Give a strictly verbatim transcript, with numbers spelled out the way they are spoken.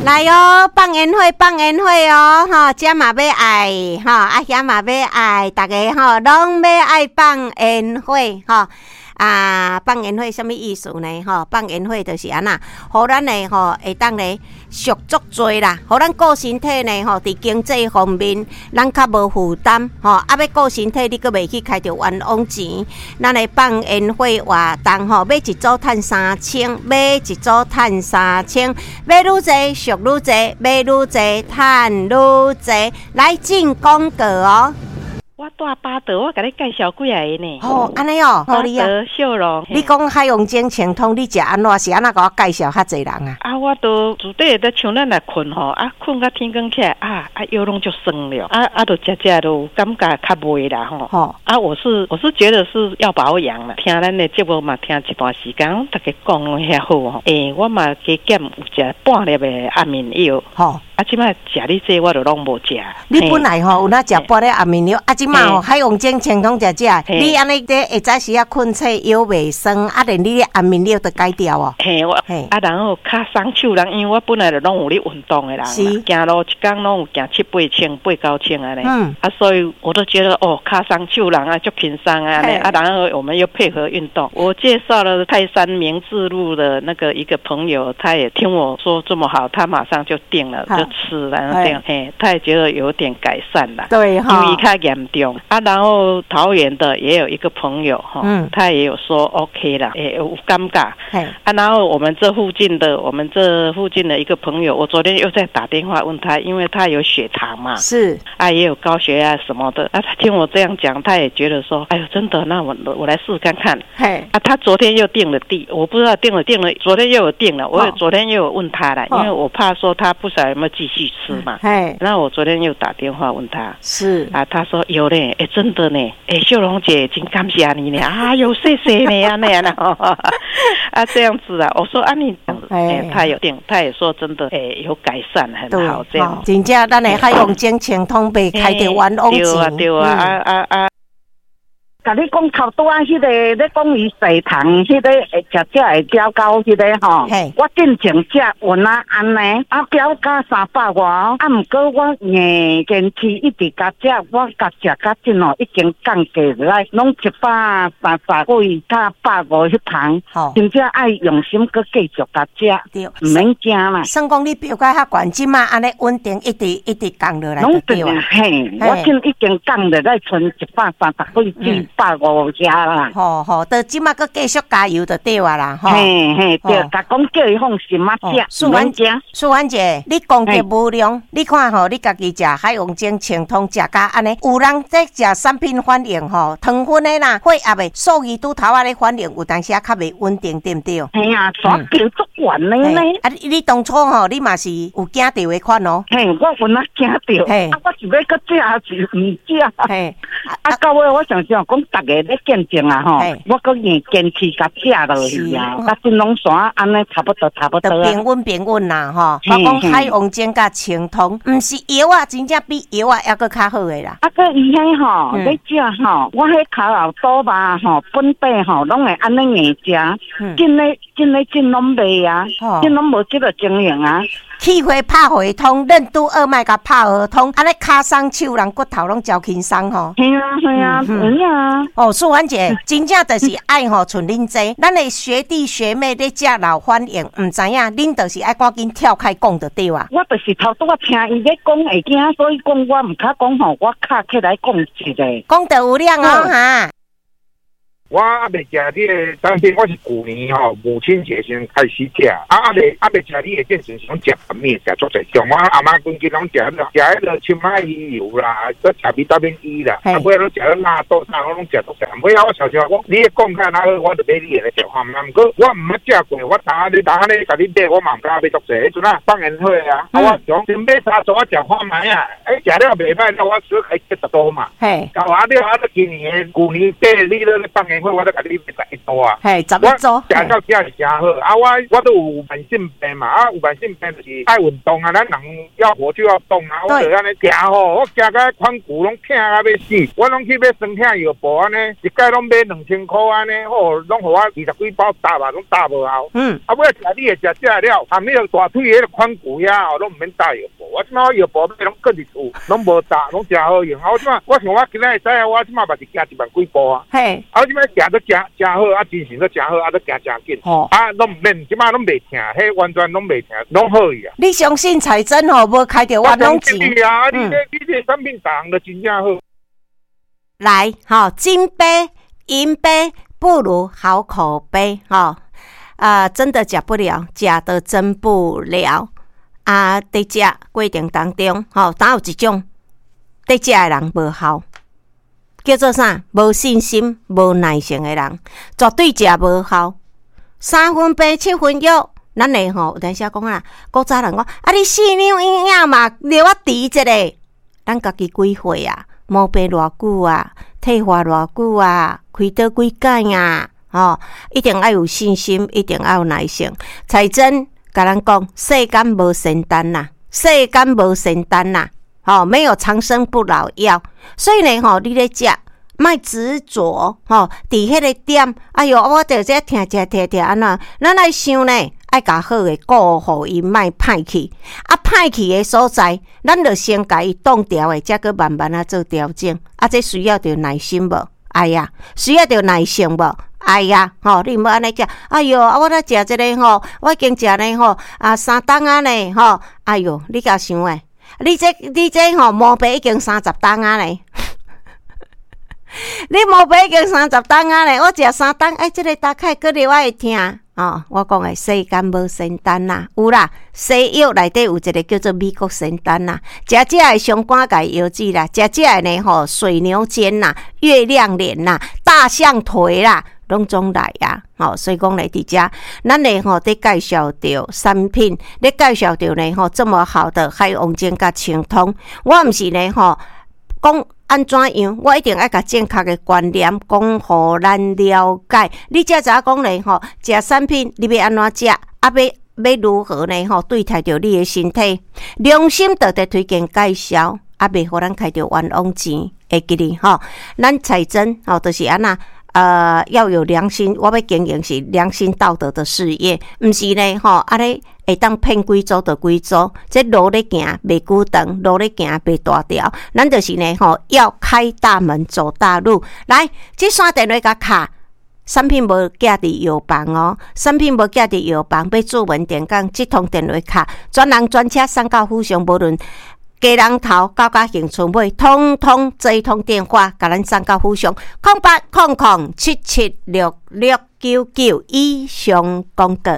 來哦，放煙火，放煙火哦，吼，這嘛欲愛，吼，啊遐嘛欲愛，逐家吼攏欲愛放煙火，吼。啊，放煙火啥物意思呢？吼，放煙火就是按怎，予咱的吼會當咧俗足濟啦，予咱顧身體呢吼，佇經濟方面咱較無負擔，吼，啊欲顧身體，你閣袂去開著冤枉錢。咱來放煙火活動吼，買一組趁三千，買一組趁三千，買愈濟俗愈濟，買愈濟趁愈濟，來進廣告哦。我蹛巴德，我共你介紹幾个呢。哦，按呢哦，巴德秀容。你講海王精清通，你食按怎？是按怎共我介紹較濟人啊？啊，我都自底咧像咱來睏吼，啊，睏到天光起來，啊啊腰攏足酸了，啊啊，就食食就感覺較袂啦吼。吼啊，我是我是覺得是要保養啦。聽咱的節目嘛，聽一段時間，逐家講攏遐好吼。欸，我嘛加減有食半粒的安眠藥。吼。啊，這擺食你這我就攏無食。你本來吼有哪食半粒安眠藥，啊，這擺吼海王精清通食食，你按呢這下早時仔睏醒腰袂酸，啊，連你的安眠藥都改掉哦。嘿，我啊，然後跤鬆手人，因為我本來就攏有咧運動的人，行路一工攏有行七八千、八九千按呢。嗯。啊，所以我都覺得哦，跤鬆手人啊，足輕鬆啊，啊，然後我們又配合運動。我介紹了泰山明治路的那個一個朋友，他也聽我說這麼好，他馬上就訂了，就吃了，這樣，嘿，他也覺得有點改善了。對哈，因為較嚴重啊。然後桃園的也有一個朋友哈，他也有說 OK 了，欸，有感覺。啊，然後我們這附近的，我們這附近的一個朋友，我昨天又在打電話問他，因為他有血糖嘛，是啊，也有高血壓什麼的啊。他聽我這樣講，他也覺得說，哎呦，真的，那我我來試看看。嘿，啊，他昨天又訂了地，我不知道訂了訂了，昨天又有訂了，我昨天又有問他了，因為我怕說他不曉得有沒有繼續吃嘛。嘿，那我昨天又打電話問他，是啊，他說有嘞，哎，真的呢，哎，秀容姐真感謝你呢，啊，有謝謝你啊，那樣啊，這樣子啊，我說啊你，哎，他有訂，他也說真的，哎，有改善很好，這樣。真正咱的海王精清通袂開著冤枉錢。對啊，對啊，啊啊啊！共你講頭拄仔彼個咧講伊血糖，彼個會食食會飆高彼個吼，我進前食有哪按呢，啊飆到三百外，啊毋過我硬堅持一直共食，我共食甲這吼已經降低落來，攏一百三十幾佮百五彼旁，真正愛用心閣繼續共食，毋免驚啦。算講你飆甲遐懸，這馬按呢穩定，一直一直降落來就對啊。嘿，我這已經降落來賰一百三十幾至百五遐啦。吼吼，到這馬閣繼續加油就對啊啦，吼。嘿嘿，對，共講叫伊放心啊食，淑婉姐，淑婉姐，你功德無量，你看吼，你家己食海王精清通食甲按呢，有人在食產品反應吼，糖分的啦，血壓的數字拄頭仔咧反應，有當時仔較袂穩定，對毋對？嘿啊，煞飆足懸的呢。啊，你你當初吼，你嘛是有驚著的款哦。嘿，我有哪驚著，啊，我是欲閣食抑是毋食？嘿，啊，到尾我想想講，逐家咧見證啊吼，我閣硬堅持共食落去啊，啊，這攏煞按呢差不多差不多。平穩平穩啦吼，我講海王精佮清通，毋是藥啊，真正比藥啊猶閣較好的啦。啊，閣伊彼吼咧食吼，我彼跤後肚肉吼，本底吼，攏會按呢硬食，真咧真咧真攏袂啊，真攏無這個情形啊。氣血拍會通，任督二脈共拍合通，按呢跤鬆手人骨頭攏誠輕鬆吼。係啊係啊，有啊。哦，淑婉姐，真正就是愛吼，像恁這，咱的學弟學妹咧食老反應，毋知影，恁就是愛趕緊跳開講就對啊。我就是頭拄仔聽伊咧講會驚，所以講我毋較講吼，我卡起來講一下。講得有量哦哈。我猶未食你的產品，我是舊年吼母親節先開始食，啊，猶未猶未食你的之前是攏食啥物，食足濟，像我阿媽規日攏食食彼个青麥魚油啦，閣食維他命 E 啦，啊，尾仔攏食了納豆啥，我攏食足濟。尾仔我常常講，你講較哪好，我就買你的來食看覓。毋過我毋捌食過，我當你當咧共你買，我嘛毋敢買足濟。彼陣啊放煙火啊，啊，我想先買三組，我食看覓啊，欸，食了袂歹，了我小開七十多嘛。嘿，啊，了啊，今年舊年底你咧放煙煙火，我都共你買十一組啊。嘿，十一組。食到遮是誠好，啊，我我都有慢性病嘛，啊，有慢性病就是愛運動啊，咱人要活就要動啊，我就按呢行吼，我行甲髋骨攏疼甲欲死，我攏去買酸痛藥布按呢，一擺攏買兩千箍按呢，吼，攏予我二十幾包搭啊，攏搭無效。嗯。啊，尾食你的食食了，含彼個大腿彼個髖骨遐吼，攏毋免搭藥布。我這擺藥布買攏囥佇厝，攏無搭，攏誠好用。啊，我這擺我想我今仔會使啊，我這擺嘛是行一萬幾步啊。嘿。啊，我這擺行得誠誠好，啊，精神閣誠好，啊，閣行誠緊。吼。啊，攏毋免，這擺攏袂疼，彼完全攏袂疼，攏好去啊。你相信彩珍吼，無開著冤枉錢。啊，你這你這產品逐項都真正好。來，吼，金杯銀杯不如好口碑，吼，啊，真的假不了，假的真不了。啊，佇食過程當中，吼，當有一種佇食的人無效，叫做啥？無信心、無耐性的人，絕對食無效。三分病，七分藥。咱會吼有當時講啊，古早人講啊，你四兩營養嘛，留我治一下。咱家己幾歲啊？毛病偌久啊？退化偌久啊？開刀幾擺啊？吼，一定愛有信心，一定愛有耐性。彩珍共咱講，世間無仙丹啦，世間無仙丹啦，吼，沒有長生不老藥。所以呢，吼，你咧食，莫執著，吼，佇彼個點，哎喲，我著這疼疼疼疼按怎？咱愛想呢，愛共好的顧予伊莫歹去，啊，歹去的所在，咱著先共伊擋牢的，才閣慢慢仔做調整。啊，這需要著耐心無？愛啊，需要著耐性無？愛啊，吼，你毋好按呢食。哎喲，啊，我咧食這个吼，我已經食呢吼，啊，三冬仔呢吼。哎喲，你共想的，你這你這吼毛病已經三十冬仔呢。你毛病已經三十冬仔呢，我食三冬，哎，這个大概閣落會疼。哦，我講的世間無仙丹啦，有啦，西藥內底有一個叫做美國仙丹啦，食這的相關共藥劑啦，食這的呢吼水牛肩啦、月亮臉啦、大象腿啦，攏總來啊！吼，所以講咧，佇遮，咱咧吼佇介紹著產品，咧介紹著呢吼這麼好的海王精佮清湯，我毋是呢吼講按怎樣，我一定愛共正確的觀念講予咱了解。你才知影講咧吼，食產品你欲按怎食，啊欲欲如何呢吼對待著你的身體，良心道德推薦介紹，啊袂予咱開著冤枉錢，會記得吼。咱彩珍吼就是按怎？呃，要有良心，我欲經營是良心道德的事業，毋是呢吼，按呢會當騙幾組就幾組，這路咧行袂久長，路咧行袂大條，咱就是呢吼，要開大門走大路。來，這線電話共敲，產品無寄佇藥房哦，產品無寄佇藥房，欲注文電講，這通電話敲，專人專車送到府上，無論基隆頭到甲恆春尾，通通這一通電話，共咱送到府上，空八空空七七六六九九以上廣告。